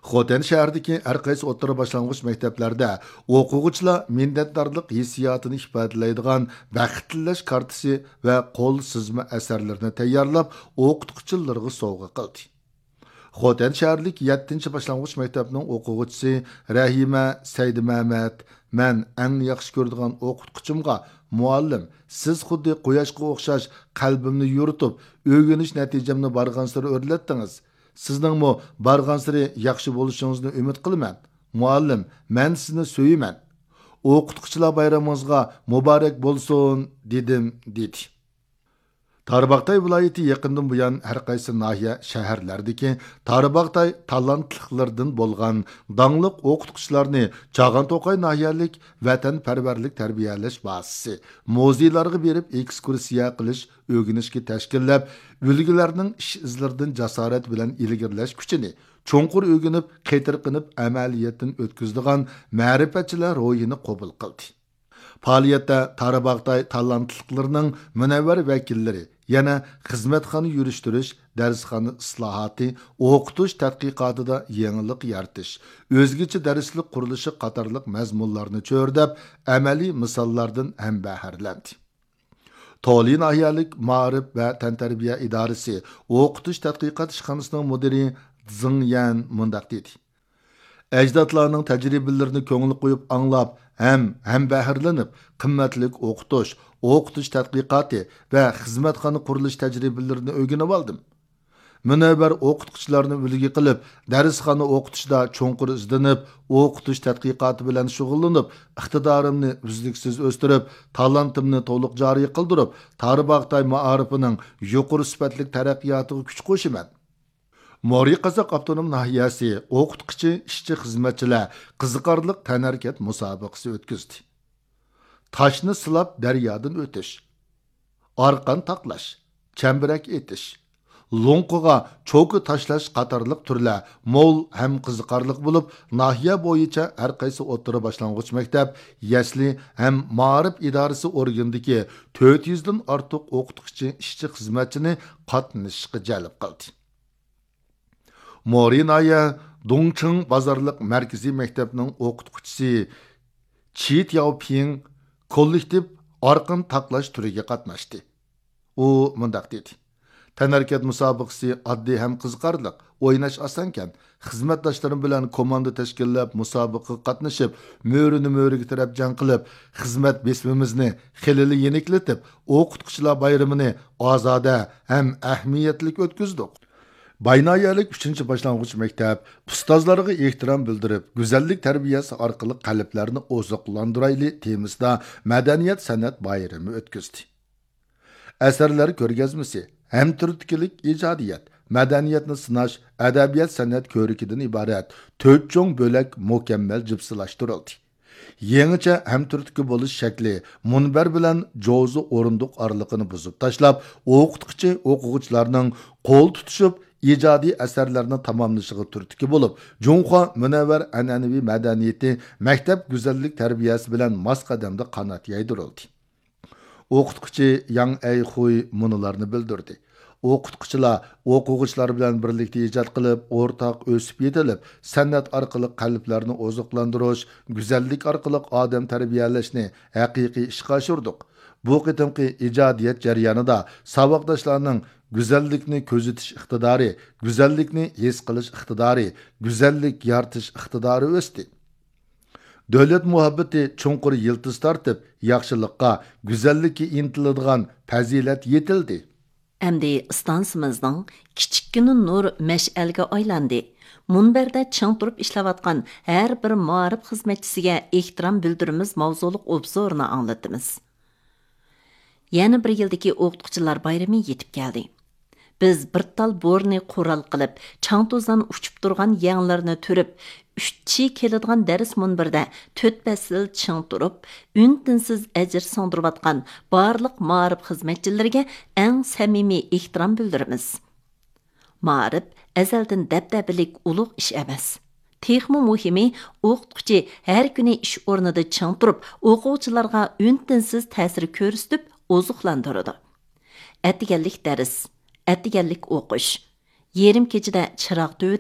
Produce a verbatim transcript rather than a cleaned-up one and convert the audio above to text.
خوتەن شەھىرىدىكى ھەر قايسى ئوتتۇرا باشلانغۇچ مەكتەپلەردە ئوقۇغۇچىلار مىننەتدارلىق ھېسسىياتىنى ئىپادىلەيدىغان بەخت تىلەش كارتىسى ۋە قول سىزما ئەسەرلىرىنى تەييارلاپ، ئوقۇتقۇچىلىرىغا سوۋغا قىلدى. خوتەن شەھەرلىك يەتتىنچى باشلانغۇچ مەكتەپنىڭ ئوقۇغۇچىسى رەھىمە سەيدىمەمەت، مەن ئەڭ ياخشى كۆرىدىغان ئوقۇتقۇچىمغا، مۇئەللىم، سىز خۇددى قۇياشقا ئوخشاش قەلبىمنى يورۇتۇپ، ئۆگىنىش نەتىجەمنى بارغانسېرى ئۆرلەتتىڭىز. سىزنىڭمۇ بارغانسېرى ياخشى بولۇشىڭىزنى ئۈمىد قىلىمەن. مۇئەللىم، مەن سىزنى سۆيىمەن. ئوقۇتقۇچىلار بايرىمىڭىزغا مۇبارەك بولسۇن، دېدىم، دېدى. تارباغاتاي ۋىلايىتى يېقىندىن بۇيان ھەر قايسى ناھىيە، شەھەرلەردىكى تارباغاتاي تالانتلىقلىرىدىن بولغان داڭلىق ئوقۇتقۇچىلارنى چاغان توقاي ناھىيەلىك ۋەتەنپەرۋەرلىك تەربىيەلەش بازىسى، مۇزېيلارغا بېرىپ ئېكسكۇرسىيە قىلىش، ئۆگىنىشكە تەشكىللەپ، ئۈلگىلەرنىڭ ئىش ئىزلىرىدىن جاسارەت بىلەن ئىلگىرىلەش كۈچىنى، چوڭقۇر ئۆگىنىپ، قېتىرقىنىپ ئەمەلىيەتتىن ئۆتكۈزىدىغان مەرىپەتچىلەر روھىنى قوبۇل قىلدى. پائالىيەتتە تارباغاتاي تالانتلىقلىرىنىڭ مۇنەۋۋەر ۋەكىللىرى يەنە خىزمەتخانا يۈرۈشتۈرۈش، دەرسخانا ئىسلاھاتى، ئوقۇتۇش تەتقىقاتىدا يېڭىلىق يارىتىش، ئۆزگىچە دەرسلىك قۇرۇلۇشى قاتارلىق مەزمۇنلارنى چۆرىدەپ، ئەمەلىي مىساللاردىن ھەمبەھىرلەندى. تولى ناھىيەلىك مائارىپ ۋە تەنتەربىيە ئىدارىسى ئوقۇتۇش تەتقىقات ئىشخانىسىنىڭ مۇدىرى زېڭ يەن مۇنداق دېدى: ئەجدادلارنىڭ تەجرىبىلىرىنى كۆڭۈل قويۇپ ئاڭلاپ ھەم ھەمبەھىرلىنىپ، قىممەتلىك ئوقۇتۇش، ئوقۇتۇش تەتقىقاتى ۋە خىزمەتخانا قۇرۇلۇش تەجرىبىلىرىنى ئۆگىنىۋالدىم. مۇنەۋۋەر ئوقۇتقۇچىلارنى ئۈلگە قىلىپ، دەرسخانا ئوقۇتۇشتا چوڭقۇر ئىزدىنىپ، ئوقۇتۇش تەتقىقاتى بىلەن شۇغۇللىنىپ، ئىقتىدارىمنى ئۈزلۈكسىز ئۆستۈرۈپ، تالانتىمنى تولۇق جارى قىلدۇرۇپ، تارباغاتاي مائارىپىنىڭ يۇقىرى سۈپەتلىك تەرەققىياتىغا كۈچ قوشىمەن. مورى قازاق ئاپتونوم ناھىيەسى ئوقۇتقۇچى ئىشچى خىزمەتچىلەر قىزىقارلىق تەنھەرىكەت مۇسابىقىسى ئۆتكۈزدى. تاشنى سىلاپ دەريادىن ئۆتۈش، ئارقان تاقلاش، چەمبىرەك ئېتىش، لوڭقىغا چوكا تاشلاش قاتارلىق تۈرلەر مول ھەم قىزىقارلىق بولۇپ، ناھىيە بويىچە ھەر قايسى ئوتتۇرا باشلانغۇچ مەكتەپ، يەسلى ھەم مائارىپ ئىدارىسى ئورگىنىدىكى تۆت يۈزدىن ئارتۇق ئوقۇتقۇچى ئىشچى خىزمەتچىنى قاتنىشىشقا جەلپ قىلدى. مورى ناھىيە دۇڭچىڭ بازارلىق مەركىزىي مەكتەپنىڭ ئوقۇتقۇچىسى چى تياۋپىڭ كوللېكتىپ ئارقان تاقلاش تۈرىگە قاتناشتى. ئۇ مۇنداق دېدى: تەنھەرىكەت مۇسابىقىسى ئاددىي ھەم قىزىقارلىق، ئويناش ئاسانكەن. خىزمەتداشلىرىم بىلەن كوماندا تەشكىللەپ، مۇسابىقىگە قاتنىشىپ، مۆرىنى مۆرىگە تىرەپ جەڭ قىلىپ، خىزمەت بېسىمىمىزنى خېلىلا يېنىكلىتىپ، ئوقۇتقۇچىلار بايرىمىنى ئازادە ھەم ئەھمىيەتلىك ئۆتكۈزدۇق. باينايەلىك ئۈچىنچى باشلانغۇچ مەكتەپ ئۇستازلارغا ئېھتىرام بىلدۈرۈپ، گۈزەللىك تەربىيەسى ئارقىلىق قەلبلەرنى ئوزۇقلاندۇرايلى تېمىسىدا مەدەنىيەت سەنئەت بايرىمى ئۆتكۈزدى. ئەسەرلەر كۆرگەزمىسى، ھەمتۈرتكىلىك ئىجادىيەت، مەدەنىيەتنى سىناش، ئەدەبىيات سەنئەت كۆرىكىدىن ئىبارەت تۆت چوڭ بۆلەك مۇكەممەل جىپسىلاشتۇرۇلدى. يېڭىچە ھەمتۈرتكە بولۇش شەكلى مۇنبەر بىلەن جوزا ئورۇندۇق ئارىلىقىنى بۇزۇپ تاشلاپ، ئوقۇتقۇچى ئوقۇغۇچىلارنىڭ قول تۇتۇشۇپ ئىجادىي ئەسەرلەرنى تاماملىشىغا تۈرتكە بولۇپ، جۇڭخۇا مۇنەۋۋەر ئەنئەنىۋى مەدەنىيىتى مەكتەپ گۈزەللىك تەربىيەسى بىلەن ماس قەدەمدە قانات يايدۇرۇلدى. ئوقۇتقۇچى ياڭ ئەيخۇي مۇنۇلارنى بىلدۈردى: ئوقۇتقۇچىلار ئوقۇغۇچىلار بىلەن بىرلىكتە ئىجاد قىلىپ، ئورتاق ئۆسۈپ يېتىلىپ، سەنئەت ئارقىلىق قەلبلەرنى ئوزۇقلاندۇرۇش، گۈزەللىك ئارقىلىق ئادەم تەربىيەلەشنى ھەقىقىي ئىشقا ئاشۇردۇق. بۇ قېتىمقى ئىجادىيەت جەريانىدا ساۋاقداشلارنىڭ گۈزەللىكنى كۆزىتىش ئىقتىدارى، گۈزەللىكنى ھېس قىلىش ئىقتىدارى، گۈزەللىك يارىتىش ئىقتىدارى ئۆستى. دۆلەت مۇھەببىتى چوڭقۇر يىلتىز تارتىپ، ياخشىلىققا، گۈزەللىككە ئىنتىلىدىغان پەزىلەت يېتىلدى. ئەمدى ئىستانسىمىزنىڭ كىچىككىنە نۇر مەشئەلگە ئايلاندى. مۇنبەردە چىڭ تۇرۇپ ئىشلەۋاتقان ھەر بىر مائارىپ خىزمەتچىسىگە ئېھتىرام بىلدۈرىمىز ماۋزۇلۇق ئوبزورنى ئاڭلىتىمىز. يەنە بىر يىلدىكى ئوقۇتقۇچىلار بايرىمى يېتىپ كەلدى. بىز بىر تال بورىنى قورال قىلىپ، چاڭ-توزان ئۇچۇپ تۇرغان يەڭلىرىنى تۈرۈپ، ئۈچ چى كېلىدىغان دەرس مۇنبىرىدە تۆت پەسىل چىڭ تۇرۇپ، ئۈن-تىنسىز ئەجىر سىڭدۈرۈۋاتقان بارلىق مائارىپ خىزمەتچىلىرىگە ئەڭ سەمىمىي ئېھتىرام بىلدۈرىمىز. مائارىپ ئەزەلدىن دەبدەبىلىك ئۇلۇغ ئىش ئەمەس. تېخىمۇ مۇھىمى، ئوقۇتقۇچى ھەر كۈنى ئىش ئورنىدا چىڭ تۇرۇپ، ئوقۇغۇچىلارغا ئۈن-تىنسىز تەسىر كۆرسىتىپ ئوزۇقلاندۇرىدۇ. ئەتىگەنلىك دەرس، ئەتىگەنلىك ئوقۇش، يېرىم كېچىدە چىراغ تۈۋىدە